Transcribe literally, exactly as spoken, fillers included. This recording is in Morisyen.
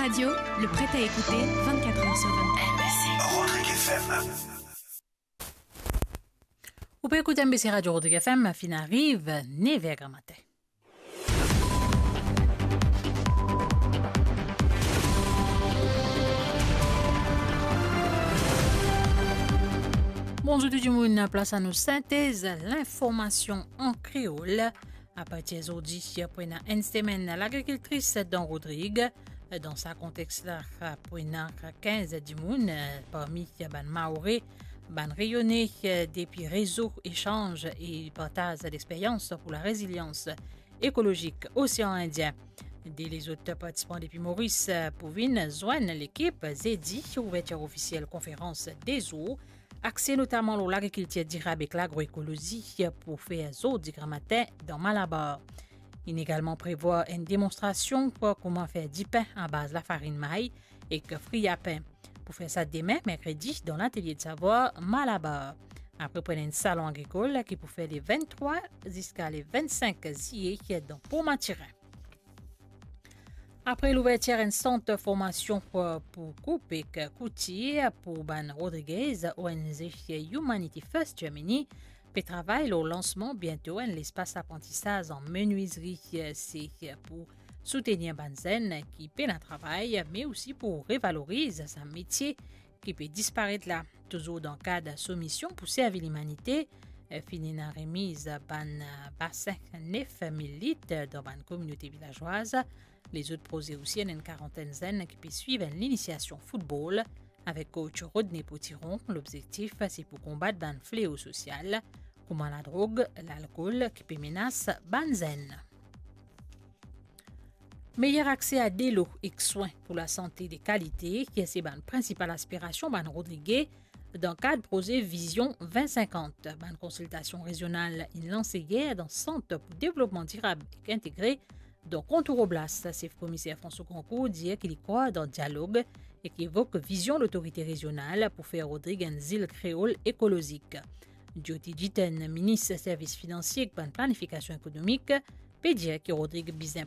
Radio, le prêt à écouter vingt-quatre heures sur vingt-quatre. Rodrigue F M. Ou pe ekout M B C Radio Rodrigue F M, finn ariv nev er gramatin. Bonzour tou dimoun, plas a nou sintez linformasion an kreol. Apartir zordi, pou ena enn semenn lagrikiltris dan Rodrig. Dan sa kontex la, pou ena kinz dimoun parmi bann Maore, bann Reyone, depi rezo esanz e partaz lexperyans pou larezilians ekolozik Osean Indien. De lezot partisipan depi Moris pou vinn zwenn lekip zedi, ouvertir ofisiel konferans de zour axe notaman lor lagrikiltir dirab ek lagroekolozi pou fer zordi gramatin dan Malabar. Inn egalman prevwar enn demonstrasion pou kouma fer dipin abaz lafarinn may ek fri lapin. Pou fer sa demin, merkredi, dan Latelie de Savwar Malabar. Apre pou ena enn salon agrikol ki pou fer le venntrwa ziska le vennsink ziye dan Port Mathurin. Apre louvertir enn sant formasion pou, pou koup ek koutir pou bann Rodriguez, O N G Humanity First Germany pe travay lor lansman biento enn lespas aprantisaz an menwizri. Se pou soutenir bann zenn ki pena travay, me osi pou revaloriz sa metie ki pe disparet la. Touzour dan kad so mision pou servi limanite, finn ena remiz bann basin nef mil lit dan bann kominote vilazwaz. Lezot proze osi, ena enn karantenn zenn ki pe swiv enn linisiasion foutbol avek coach Rodney Potiron. Lobzektif se pou konbat bann fleo sosial kouma ladrog, lalkol ki pe menas bann zenn. Meyer akse a delo ek swin pou lasante de kalite, ki se bann prinsipal aspirasion bann Rodrige dan kad proze Vizion vin sinkant. Bann konsiltasion rezional inn lanse yer dan Sant pou Devlopman Dirab ek Integre dan Kontour Oblas. Sef Komiser François Grandcourt dir ki li krwar dan dialog e ki evok vizion lotorite rezional pou fer Rodrig enn zil kreol ekolozik. Jyoti Jiten, minis servis finansie ek bann planifikasion ekonomik, pe dir ki Rodrig bizin